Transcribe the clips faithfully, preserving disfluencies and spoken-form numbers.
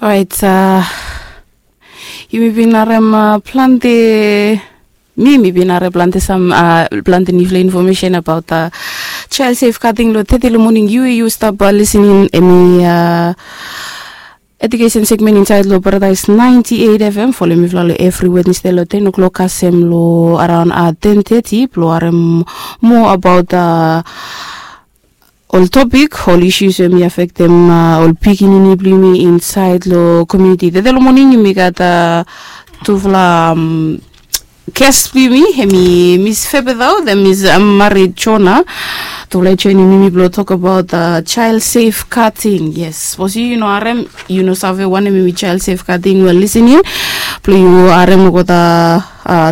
Orait, yumi bin harem plante, mi mi bin harem plante sam plante nifla infomesen abaot child safe kating long teti long moning. Yu yu stap lisening emi edukesen segmen insaed long Paradais ninety eight F M. Folem mifala long evri Wednesde long ten o'clock kasem long araon ten teti blong harem moa abaot ol topik, ol isus we mi afektem ol pikinini blong yumi insaed long komiuniti. Tete long moning yumi gat tufala ges blong yumi, emi Mis Febethao, then Mis Mari Jona. Tufala i joinim yumi blong tokbaot child safe kating. Yes, sapos yu no harem, yu no save wanem emi child safe kating, wel lisening blong yu harem olgeta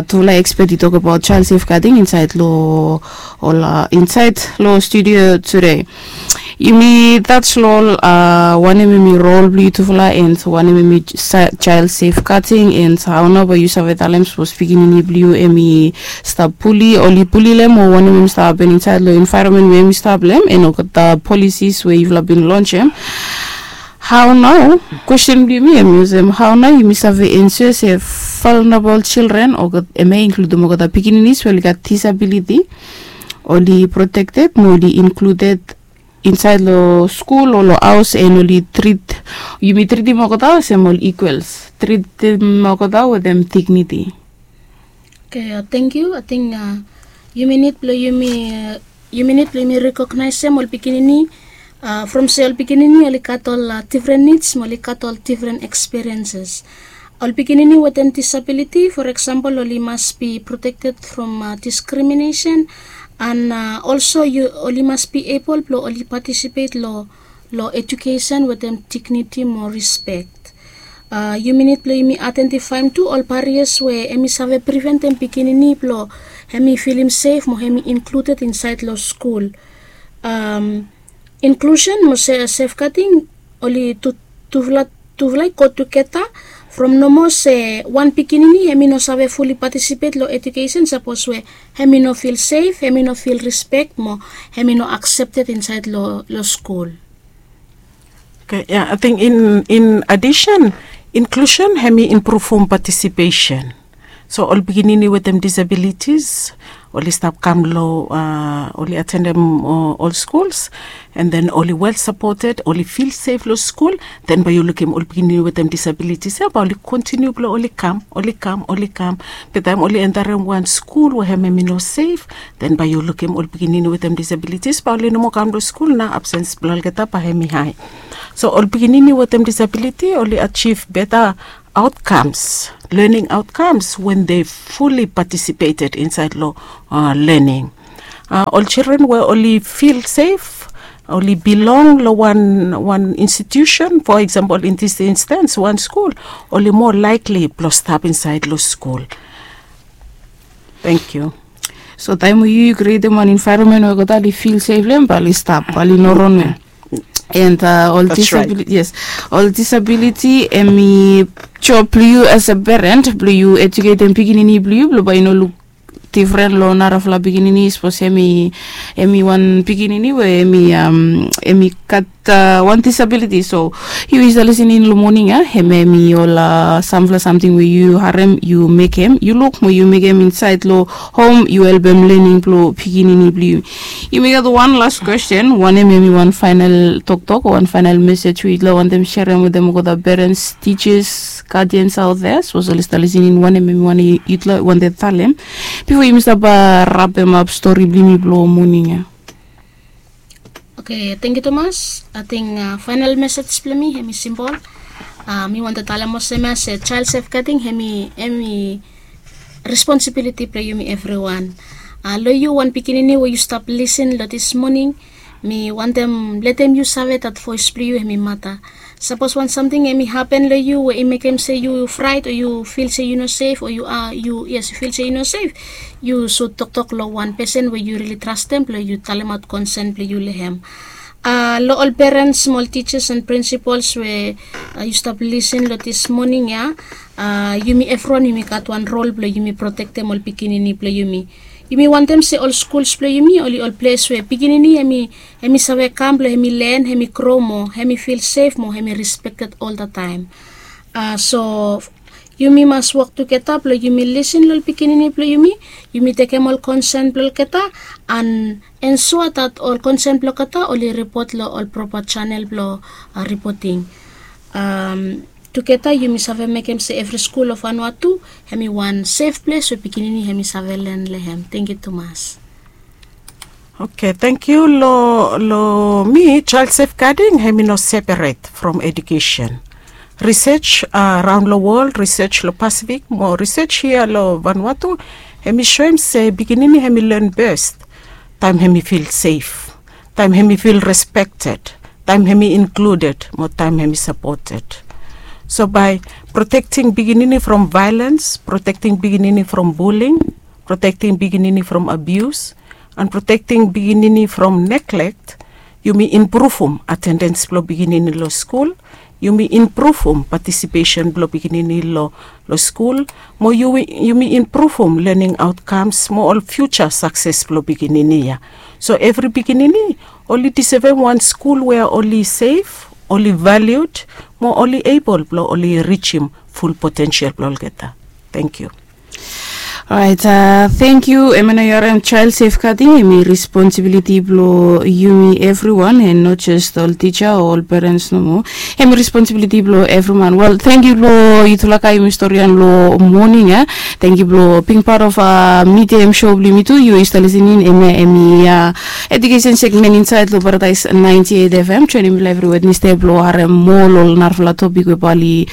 tufala ekspet i tokbaot child safe kating insaed long ol insaed long studio tude. Yumi taj long ol wanem emi rol blong yutufala and wanem emi child safe kating and hao nao bae yu save talem sapos pikinini blong yu emi stap puli oli puli long em o wanem emi stap hapen insaed long envaeronmen we emi stap long em and olgeta polisis we yufala bin lonsem. Hao nao? Kwesten blong yumi emi olsem, hao nao yumi save ensua se vulnerable children o emi inkludem olgeta pikininis we oli gat disabiliti oli protekted mo oli inkluded insaed long skul o long haos and oli trit, yumi tritim olgeta olsem ol ikwels, tritim olgeta wetem digniti. Oke, tangkiu. Ating yumi nid blong yumi yumi nid blong yumi rekognaesem ol pikinini from se ol pikinini oli gat ol difren nids mo oli gat ol difren ekspirienses. Ol pikinini wetem disabiliti, for eksampol, oli mas bi protekted from diskriminesen and olso oli mas bi ebol blong oli patisipet long long ejukesen wetem digniti mo rispek. Yumi nid blong yumi aidentifaem tu ol barias we emi save priventem pikinini blong emi filim sef mo emi inkluded insaed long skul. Inklusen mo sefgading oli tufala i go tugeta from nomo se wan pikinini emi no save fuli patisipet long ejukesen sapos we emi no fil sef, emi no fil rispek mo emi no aksepted insaed long skul. Oke, ya, ating in adisen, inklusen emi impruvum patisipesen. So ol pikinini wetem disabilitis oli stap kam long oli atendem ol skuls, and then oli wel sapoted, oli fil sef long skul. Then bae yu lukim ol pikinini wetem disabilitis ya bae oli kontiniu blong oli kam, oli kam, oli kam. Be taem oli entarem wan skul we hem emi no sef, then bae yu lukim ol pikinini wetem disabilitis bae oli no moa kam long skul. Nao absens blong olgeta bae emi hae. So ol pikinini wetem disabiliti oli ajiv beta outcomes, learning outcomes when they fully participated insaed long learning. Ol children we oli fil sef, oli bilong long wan institusen, for example, in this instance wan skul, oli moa likely blong stap insaed long skul. Tangkiu. So taem we yu yu krietem wan envaeronmen we olgeta oli fil sef long hem bae oli stap, bae oli no ron we and ol disabiliti, yes, ol disabiliti emi job blong yu as a parent blong yu ejuketem pikinini blong yu blong bae i no luk difren long narafala pikinini sapos emi wan pikinini we emi gat wan disabiliti. So yu i save lisening long moning ya, hem emi ol samfala samting we yu harem yu mekem, yu luk mo yu mekem insaed long hom, yu helpem lening blong pikinini blong yu. Yumi gat wan las kwesten, wanem emi wan faenal toktok o wan faenal mesej we yutufala wantem serem wetem olgeta perens, tijas, gadians aot dea sapos oli stap lisening, wanem emi wantem yutufala wantem talem bifo yumi stap rapemap stori blong yumi blong moning ya? Oke, tangkiu tumas. Ating faenal mesej blong mi emi simpol. Mi wantem talem olsem ya se jael sefgading emi emi responsibiliti blong yumi evriwan. Long yu wan pikinini we yu stap lisen long dis moning, mi wantem letem yu save dat voes blong yu emi mata. Sapos wan samting emi hapen long yu we i mekem se yu fraet o yu fil se yu no sef o yu a yu yes yu fil se yu no sef, yu sud toktok long wan pesen we yu rili trastem blong yu talemaot konsen blong yu long hem. Long ol perens mo ol tijas and prinsipols we yu stap lisen long dis moning ya, yumi evriwan yumi gat wan rol blong yumi protektem ol pikinini blong yumi. Yumi wantem se ol skuls blong yumi oli ol ples we pikinini hemi hemi save kam blong hemi len, hemi gro mo hemi fil sef mo hemi respekted oltaem. So yumi mas wok tugeta blong yumi lisin long ol pikinini blong yumi. Yumi tekem ol konsen blong olgeta an ensua dat ol konsen blong olgeta oli ripot long ol propa janel blong ripoting. Tugeta yumi save mekem se evri skul of Vanuatu hemi wan sef ples we pikinini hemi save len long hem. Tengkiu tumas. Oke, tengkiu. Long mi, jael sefgading hemi no seperet from edukesen. Risej raon long wol, risej long Pasifik mo risej hia long Vanuatu, hemi soem se pikinini hemi len bes taem hemi fil sef, taem hemi fil respekted, taem hemi inkluded mo taem hemi sapoted. So bae protekting pikinini from vaelens, protekting pikinini from buling, protekting pikinini from abius, an protekting pikinini from neglek, yumi impruvum atendens blong pikinini long skul, yumi impruvum patisipesen blong pikinini long skul, mo yumi impruvum lening aotkams mo ol fiuja sakses blong pikinini ya. So evri pikinini oli disevem wan skul we oli sef, oli valiud, mo oli ebol blong oli rijim ful potensel blong olgeta. Tengkiu. Orait, tengkiu. Em ya nao yu harem jael sefgading hemi responsibiliti blong yumi evriwan, en no jes ol tija o ol perens nomo. Hemi responsibiliti blong evriman. Wel, tengkiu long yutufala, yumi storian long moning ya. Tengkiu blong bing pat of midia em so blong yumi tu. Yu i stap lisening, em ya hemi edukesen segmen insaed long Paradaes naenti eit FM. Joenem mifala evri Wednesde blong harem moa long ol narafala topik we bae oli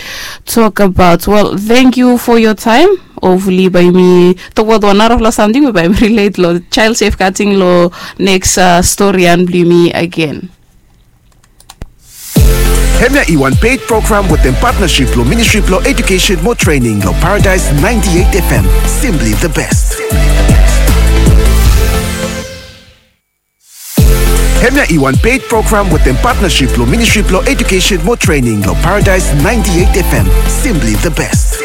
tok abaot. Wel, tengkiu fo yoa taem. Hopefully bae yumi tokbaot wan narafala samting we bae hemi rilet long jael sefgading long neks storian blong yumi agen. Hemia i wan ped program wetem patnasip blong Ministri blong Edukesen mo Trening long Paradaes naenti eit FM. Simply the best. Hemia i wan ped program wetem patnasip blong Ministri blong Edukesen mo Trening long Paradaes naenti eit FM. Simply the best.